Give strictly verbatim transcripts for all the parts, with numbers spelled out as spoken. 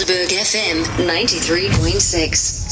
Tygerberg F M ninety-three point six.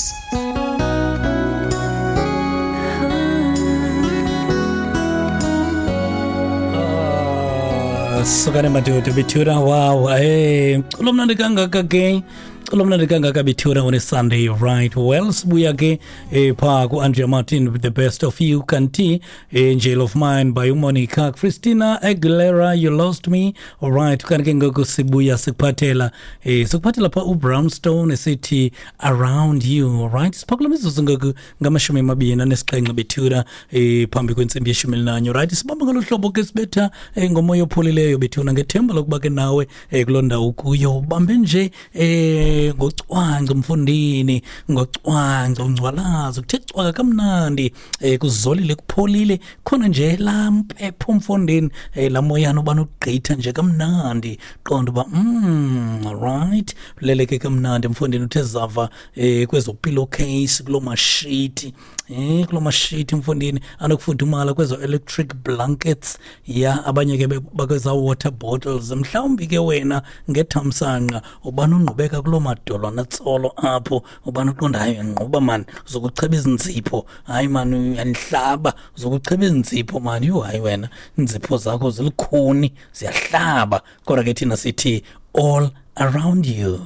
Sukane madoda bethuna, wow, hey, mculo mnandi kangaka ke, mculo mnandi kangaka bethuna on a Sunday, right? Well, sibuya ke eh, pha ku-Andrea Martin with The Best of You, kanti Angel of Mine by uMonica, Christina Aguilera, You Lost Me. All right, kanti ke ngoku sibuya sikuphathela eh, sikuphathela pha uBrownstone esithi Around You. All right, siphakula mizuzu ngoku ngamashumi amabini anesixhenxe bethuna eh, phambi kwentsimbi yeshumi elinanye. Right, sibamba ngolu hlobo ke sibetha eh, ngomoya opholileyo bethuna, ngethemba lokuba ke nawe eh, kuloo ndawo kuyo ubambe nje eh, ngocwangco mfundini, ngocwangco ungcwalazo, kuthe cwaka kamnandi eh, kuzolile kupholile, khona nje laa mpepho mfundini eh, laa moyana ubana ugqitha nje kamnandi, qonda uba mm, right, uleleke kamnandi mfundini, uthe zava eh, kwezo pillowcase, kuloo mashiti eh, kuloo mashiti mfundini anokufudumala, kwezo electric blankets ya abanye ke bakweza water bottles, mhlawumbi ke wena ngethamsanqa ubana ungqubeka kuloo madolwana tsolo apho, ubana uqonda hayi ngquba mani, uzokucheba izinzipho, hayi mani uyandihlaba, uzokucheba izinzipho mani, yhu hayi wena inzipho zakho zilikhuni ziyahlaba, kodwa ke thina sithi all around you.